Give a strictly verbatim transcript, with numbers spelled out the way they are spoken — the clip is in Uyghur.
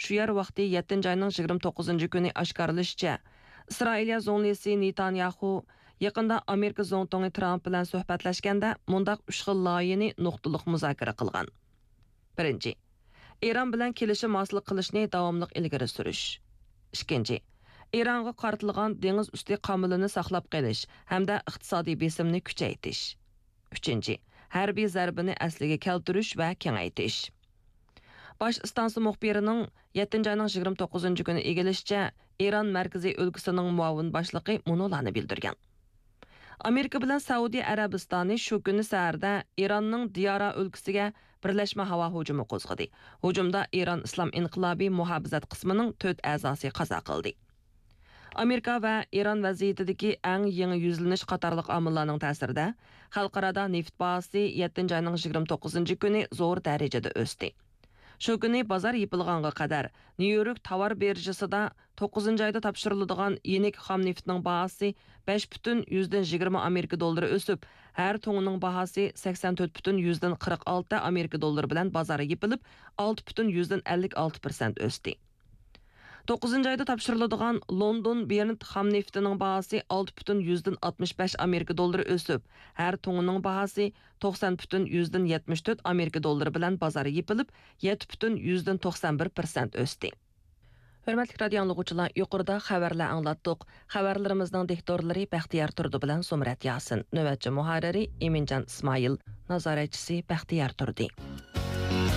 شۇ يەر ۋاقتى يەتتىنچى ئاينىڭ يىگىرمە توققۇزىنچى كۈنى ئاشكارىلىشىچە، ئىسرائىلىيە زۇڭلىسى نېتانياخۇ يېقىندا ئامېرىكا زۇڭتۇڭى ترامپ بىلەن سۆھبەتلەشكەندە مۇنداق ئۈچ خىل لايىھىنى نۇقتىلىق مۇزاكىرە قىلغان. بىرىنچى، ئىران بىلەن كېلىشىم ھاسىل قىلىشنى داۋاملىق ئىلگىرى سۈرۈش. ئىككىنچى، ئىرانغا قارىتىلغان دېڭىز ئۈستى قامىلىنى ساقلاپ قېلىش ھەمدە ئىقتىسادىي بېسىمنى كۈچەيتىش. ئۈچىنچى، ھەربىي زەربىنى ئەسلىگە كەلتۈرۈش ۋە كېڭەيتىش. باش ئىستانسا مۇخبىرىنىڭ يەتتىنچى ئاينىڭ يىگىرمە توققۇزىنچى كۈنى ئىگىلىشىچە، ئىران مەركىزىي ئۆلكىسىنىڭ مۇئاۋىن باشلىقى مۇنۇلارنى بىلدۈرگەن. ئامېرىكا بىلەن سەئۇدى ئەرەبىستانى شۇ كۈنى سەھەردە ئىراننىڭ دىيارا ئۆلكىسىگە بىرلەشمە ھاۋا ھۇجۇمى قوزغىدى. ھۇجۇمدا ئىران ئىسلام ئىنقىلابى مۇھاپىزەت قىسمىنىڭ تۆت ئەزاسى قازا قىلدى. ئامېرىكا ۋە ئىران ۋەزىيىتىدىكى ئەڭ يېڭى يۈزلىنىش قاتارلىق ئامىللارنىڭ تەسىرىدە، خەلقئارادا نېفىت باھاسى يەتتىنچى ئاينىڭ يىگىرمە توققۇزىنچى كۈنى زور دەرىجىدە ئۆستى. شۇ كۈنى بازار يېپىلغانغا قەدەر نيۇ يورك تاۋار بىرژىسىدا توققۇزىنچى ئايدا تاپشۇرۇلىدىغان يېنىك خام نېفىتنىڭ باھاسى بەش پۈتۈن يۈزدىن يىگىرمە ئامېرىكا دوللىرى ئۆسۈپ، ھەر تۇڭىنىڭ باھاسى سەكسەن تۆت پۈتۈن يۈزدىن قىرىق ئالتە ئامېرىكا دوللىرى بىلەن بازار يېپىلىپ، ئالتە پۈتۈن يۈزدىن ئەللىك ئالتە پىرسەنت ئۆستى. توققۇزىنچى ئايدا تاپشۇرۇلىدىغان لوندون برېنت خام نېفىتىنىڭ باھاسى ئالتە پۈتۈن يۈزدىن ئاتمىش بەش ئامېرىكا دوللىرى ئۆسۈپ، ھەر تۇڭىنىڭ باھاسى توقسان پۈتۈن يۈزدىن يەتمىش تۆت ئامېرىكا دوللىرى بىلەن بازار يېپىلىپ، يەتتە پۈتۈن يۈزدىن توقسان بىر پىرسەنت ئۆستى. ھۆرمەتلىك رادىيو ئاڭلىغۇچىلار، يۇقىرىدا خەۋەرلەر ئاڭلاتتۇق. خەۋەرلىرىمىزنىڭ دىكتورلىرى بەختىيار تۇردى بىلەن زۇمرەت ياسىن، نۆۋەتچى مۇھەررىرى ئىمىنجان ئىسمائىل، نازارەتچىسى بەختىيار تۇردى.